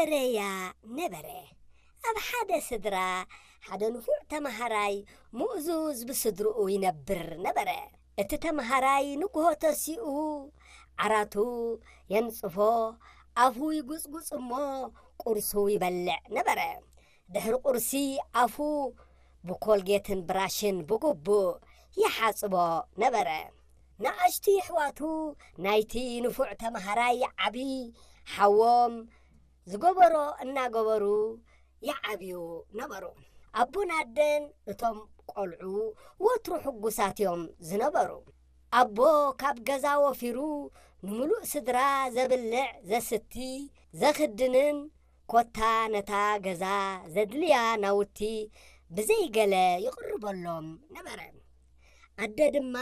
እረያ ነበረ። ኣብ ሓደ ስድራ ሓደ ንፉዕ ተመሃራይ ምእዙዝ ብስድርኡ ይነብር ነበረ። እቲ ተመሃራይ ንግሆ ተሲኡ ዓራቱ የንጽፎ፣ ኣፉ ይጉጽጉጽ እሞ ቁርሱ ይበልዕ ነበረ። ድሕሪ ቁርሲ ኣፉ ብኮልጌትን ብራሽን ብግቡእ ይሓጽቦ ነበረ። ንኣሽቱ የሕዋቱ ናይቲ ንፉዕ ተመሃራይ ዓቢ ሓዎም ዝገበሮ እናገበሩ ይዓብዩ ነበሩ። ኣቦን ኣደን እቶም ቆልዑ ወትሩ ሕጉሳት እዮም ዝነበሩ። ኣቦ ካብ ገዛ ወፊሩ ንምሉእ ስድራ ዘብልዕ ዘስቲ ዘኽድንን ኮታ ነታ ገዛ ዘድልያ ናውቲ ብዘይገለ ይቕርበሎም ነበረ። ኣደ ድማ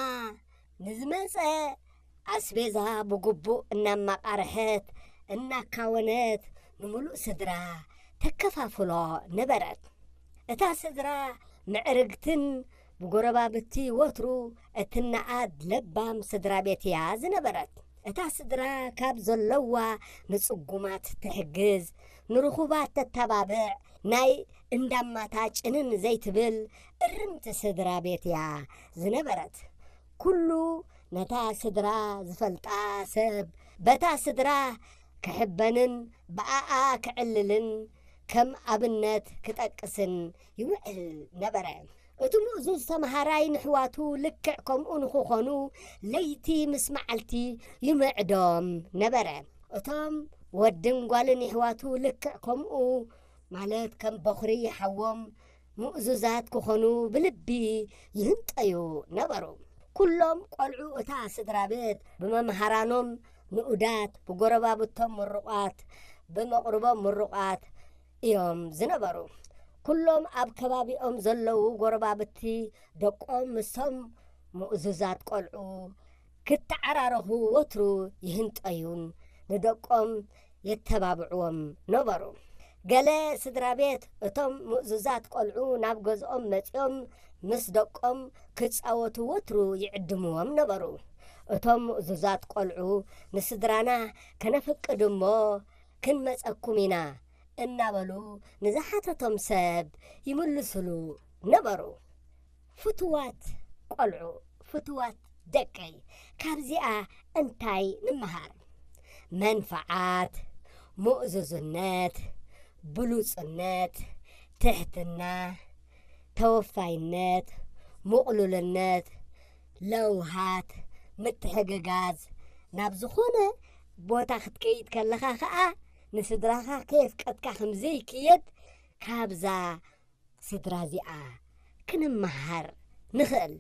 ንዝመጸ ኣስቤዛ ብግቡእ እናማቓርሐት እናካወነት ንምሉእ ስድራ ተከፋፍሎ ነበረት። እታ ስድራ ምዕርግትን ብጎረባብቲ ወትሩ እትነኣድ ለባም ስድራ ቤት እያ ዝነበረት። እታ ስድራ ካብ ዘለዋ ንጽጉማት ትሕግዝ፣ ንርኹባት ተተባብዕ፣ ናይ እንዳማታ ጭንን ዘይትብል እርምቲ ስድራ ቤት እያ ዝነበረት። ኩሉ ነታ ስድራ ዝፈልጣ ሰብ በታ ስድራ ክሕበንን ብኣኣ ክዕልልን ከም ኣብነት ክጠቅስን ይውዕል ነበረ። እቲ ምእዙዝ ተመሃራይ ንሕዋቱ ልክዕ ከምኡ ንኽኾኑ ለይቲ ምስ መዓልቲ ይምዕዶም ነበረ። እቶም ወድን ጓልን የሕዋቱ ልክዕ ከምኡ፣ ማለት ከም በኹሪ ይሓዎም ምእዙዛት ክኾኑ ብልቢ ይህንጠዩ ነበሩ። ኩሎም ቆልዑ እታ ስድራ ቤት ብመምሃራኖም ንኡዳት፣ ብጎረባብቶም ምሩቓት፣ ብመቕርቦም ምሩቓት እዮም ዝነበሩ። ኩሎም ኣብ ከባቢኦም ዘለዉ ጎረባብቲ ደቆም ምስቶም ምእዙዛት ቆልዑ ክተዓራረኹ ወትሩ ይህንጠዩን ንደቆም የተባብዕዎም ነበሩ። ገለ ስድራ ቤት እቶም ምእዙዛት ቆልዑ ናብ ገዝኦም መጺኦም ምስ ደቆም ክጻወቱ ወትሩ ይዕድምዎም ነበሩ። እቶም ምእዙዛት ቆልዑ ንስድራና ከነፍቅድ እሞ ክንመጸኩም ኢና እናበሉ ንዝሓተቶም ሰብ ይምልስሉ ነበሩ። ፍቱዋት ቆልዑ፣ ፍቱዋት ደቀይ፣ ካብዚኣ እንታይ ንምሃር? መንፍዓት፣ ምእዙዝነት፣ ብሉጽነት፣ ትሕትና፣ ተወፋይነት፣ ምቕሉልነት፣ ለውሃት፣ ምትሕግጋዝ፣ ናብ ዝኾነ ቦታ ክትከይድ ከለኻ ኸኣ ንስድራኻ ከየፍቀድካ ከም ዘይክየድ ካብዛ ስድራ እዚኣ ክንመሃር ንኽእል።